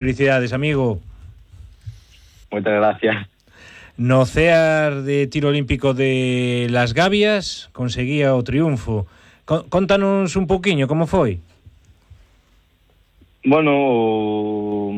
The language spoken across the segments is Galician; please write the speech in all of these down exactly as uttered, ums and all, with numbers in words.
Felicidades, amigo. Moitas gracias. No Cear de Tiro Olímpico de Las Gavias conseguía o triunfo. Contanos un pouquiño como foi. Bueno,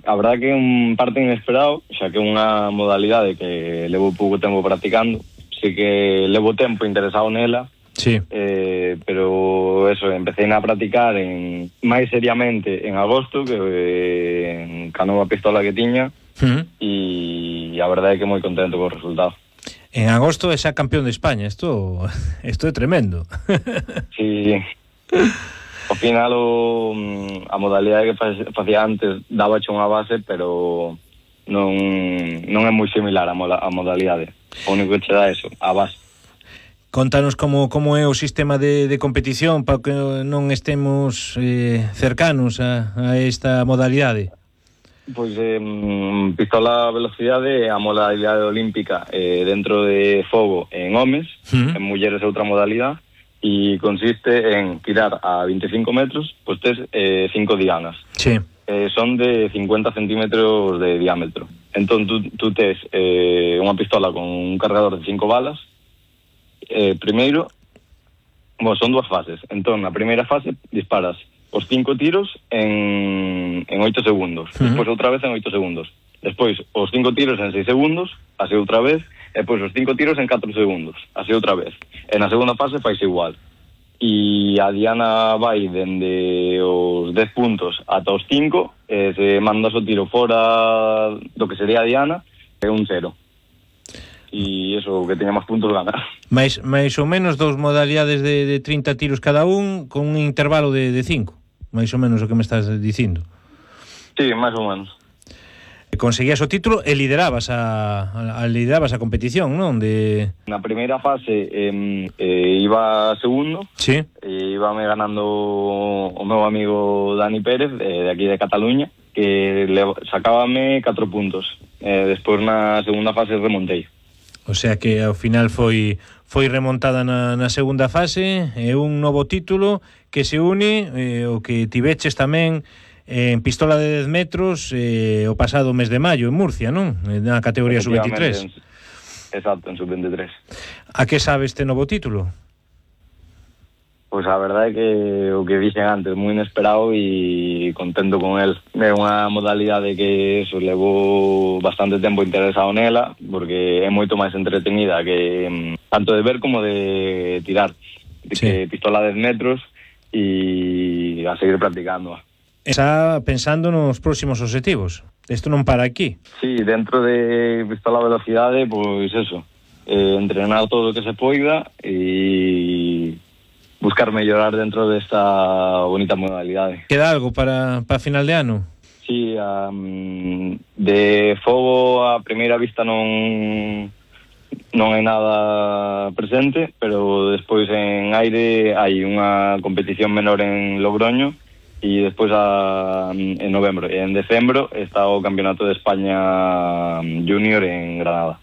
a verdad que é un parte inesperado, xa que é unha modalidade que levo pouco tempo practicando. Sí que levo tempo interesado nela. Sí. Eh, pero eso, empecé a practicar en máis seriamente en agosto, que eh, ca nova pistola que tiña, uh-huh. E a verdade é que moi contento co resultado. En agosto é xa campeón de España, isto isto é tremendo. Sí. Ao final o, a modalidade que facía antes daba xa unha base, pero non non é moi similar a, a modalidade. O único que che dá eso, a base. Contanos como, como é o sistema de, de competición para que non estemos eh, cercanos a, a esta modalidade. Pois eh, pistola a velocidade é a modalidade olímpica eh, dentro de fogo en homes, uh-huh. En mulleres é outra modalidade, e consiste en tirar a veinticinco metros, pois tes eh, cinco dianas. Sí. Eh, son de cincuenta centímetros de diámetro. Entón tú, tú tes eh, unha pistola con un cargador de cinco balas. Eh, primeiro, bueno, son dúas fases. Entón, na primeira fase disparas os cinco tiros en, en oito segundos. Uh-huh. Despois outra vez en oito segundos. Despois os cinco tiros en seis segundos, así outra vez. E depois os cinco tiros en catro segundos, así outra vez. E na segunda fase fais igual. E a diana vai dende os dez puntos ata os cinco. E se mandas o tiro fora do que sería a diana, é un cero. E iso, que teña máis puntos gana. Mais, mais ou menos dos modalidades de, de trinta tiros cada un, con un intervalo de, de cinco. Mais ou menos o que me estás dicindo. Sí, máis ou menos. Conseguías o título e liderabas a, a, a liderabas a competición, non? De... Na primeira fase eh, eh, iba segundo. Sí. E íbame ganando o meu amigo Dani Pérez, eh, de aquí de Cataluña, que le, sacábame catro puntos. Eh, despois na segunda fase remontei. O sea que ao final foi foi remontada na, na segunda fase e un novo título que se une eh, o que tiveches tamén eh, en pistola de dez metros eh, o pasado mes de maio en Murcia, non? Na categoría sub veintitrés. En, exacto, en sub veintitrés. A que sabe este novo título? Pois a verdade é que o que dixen antes, moi inesperado e contento con el. É unha modalidade que eso, levo bastante tempo interesado nela, porque é moito máis entretenida que tanto de ver como de tirar. De sí. Que pistola a dez metros e a seguir practicando. Está pensando nos próximos objetivos. Isto non para aquí. Sí, dentro de pistola a velocidade, pois eso, eh, entrenar todo o que se poida e buscar mellorar dentro desta bonita modalidade. Queda algo para, para final de ano? Sí, um, de fogo a primeira vista non non hai nada presente, pero despois en aire hai unha competición menor en Logroño e despois a, en novembro. E en decembro está o Campeonato de España Junior en Granada.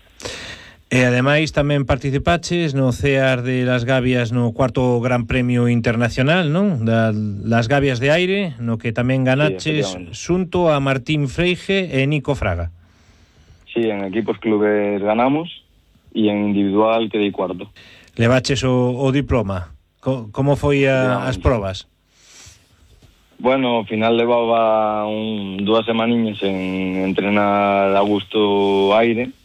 E ademais tamén participaches no Cear de Las Gavias no cuarto Gran Premio Internacional, non? Da Las Gavias de Aire, no que tamén ganaches sí, xunto a Martín Freige e Nico Fraga. Sí, en equipos clubes ganamos e en individual quedei cuarto. Levaches o, o diploma. Co, como foi a, as probas? Bueno, ao final levaba un, dúas semaniñas en entrenar a gusto aire.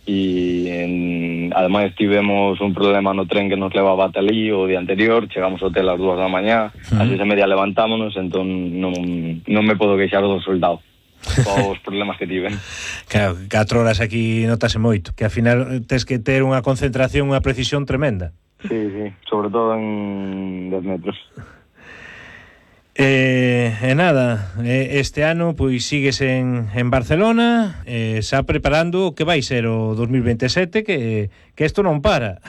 E en, ademais tivemos un problema no tren que nos levaba ata ali o día anterior, chegamos ao hotel ás dúas da mañá, uh-huh. Así se media levantámonos, entón non, non me podo queixar do resultado os problemas que tiven. Claro, catro horas aquí notase moito, que ao final tes que ter unha concentración, unha precisión tremenda. Sí, sí, sobre todo en dez metros. E, e nada, este ano pois sigues en, en Barcelona, eh, xa preparando o que vai ser o dos mil veintisiete, que, que isto non para.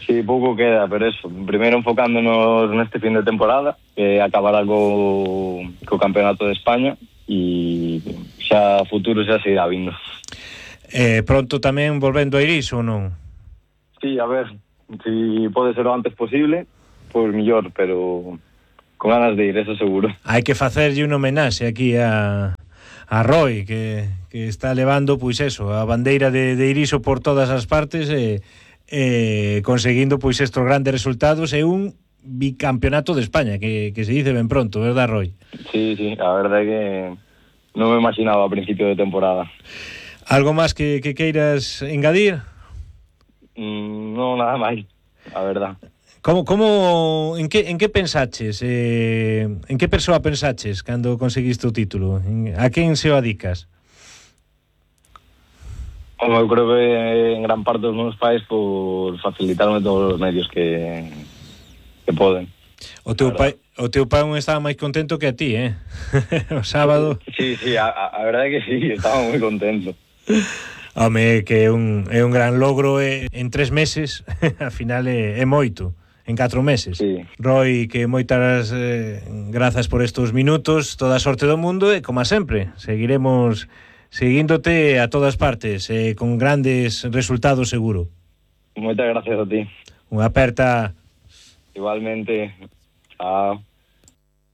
Sí, pouco queda, pero eso, primeiro enfocándonos neste fin de temporada, que acabará co, co Campeonato de España, e xa futuro xa se irá vindo. Eh, pronto tamén volvendo a Iris ou non? Sí, a ver, si pode ser o antes posible, pois mellor, pero con ganas de ir, eso seguro. Hai que facerlle un homenaxe aquí a, a Roy, que, que está levando, pois eso, a bandeira de, de Iriso por todas as partes e, e conseguindo pois estes grandes resultados e un bicampeonato de España, que, que se dice ben pronto, verdad, Roy? Sí, sí, a verdade é que non me imaginaba a principio de temporada. Algo máis que, que queiras engadir? Mm, non, nada máis, a verdad. Como, como, en que, en que pensaches? Eh, en que persoa pensaches cando conseguiste o título? En, a quen se o adicas? Como eu creo que en gran parte os meus pais por facilitarme todos os medios que, que poden. O teu pai, o teu pai non estaba máis contento que a ti, eh? O sábado. Sí, sí, a, a verdade é que sí, estaba moi contento. Home, que é un, é un gran logro eh, en tres meses, al final é, é moito, en catro meses. Sí. Roy, que moitas eh, grazas por estos minutos, toda a sorte do mundo e, como sempre, seguiremos seguíndote a todas partes, eh, con grandes resultados seguro. Moitas gracias a ti. Unha aperta. Igualmente. Chao.